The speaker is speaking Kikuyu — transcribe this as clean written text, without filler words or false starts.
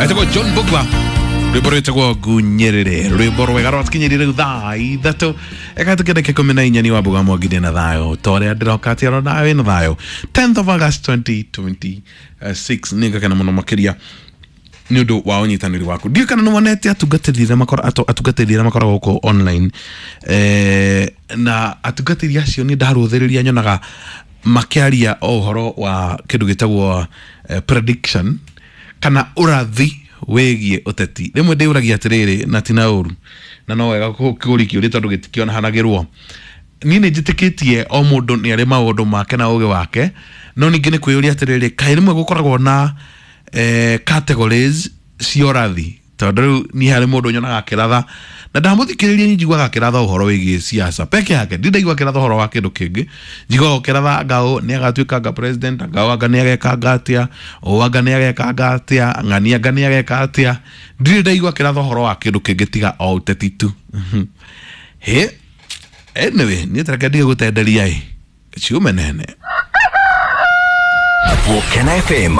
Etagwo John Bugwa, rwimbo rwĩtagwo Ngunyĩrĩre, rwimbo rwega rwatũkinyĩrie rĩu thaa 3 ĩkahĩtũkia ndagĩka 14. Ni Wambuga Mwangi na thayũ ta ũrĩa ndĩroka atĩ oro nawe na thayũ. 10th of August 2026, nĩ ngakena mũno makĩria nĩ ũndũ wa ũnyitanĩri waku. Ndiũĩ kana nĩ wonete atungatĩri arĩa makoragwo gũkũ online, na atungatĩri acio nĩ ndarũthĩrĩria nyonaga makĩaria o ũhoro wa kĩndũ gĩtagwo prediction kana ũrathi wĩgiĩ ũteti. Rĩmwe ndĩũragia atĩrĩrĩ, na tina ũru na no wega kũũria kĩũria tondũ gĩtikĩonahanagĩrwo. Niĩ nĩ njĩtĩkĩtie o mũndũ nĩ arĩ maũndũ make na ũgĩ wake, no ningĩ nĩ kwĩyũria atĩrĩrĩ, kaĩ rĩmwe gũkoragwo na categories cia ũrathi? Tondũ rĩu niĩ harĩ mũndũ nyonaga akĩratha na ndamũthikĩrĩria, niĩ njiguaga akĩratha ũhoro wĩgiĩ siasa peke yake. Ndĩ ndaigua akĩratha ũhoro wa kĩndũ kĩngĩ. Njiguaga ũkĩratha anga ũũ nĩ agatuĩka anga president, anga ũũ anga nĩ agekanga atĩa, ũũ anga nĩ agekanga atĩa, ng'ani anga nĩ ageka atĩa. Ndirĩ ndaigua akĩratha ũhoro wa kĩndũ kĩngĩ tiga o ũteti tu. Hĩ, anyway, niĩ tareke ndige gũtenderia ĩ ciume nene. Volcano FM.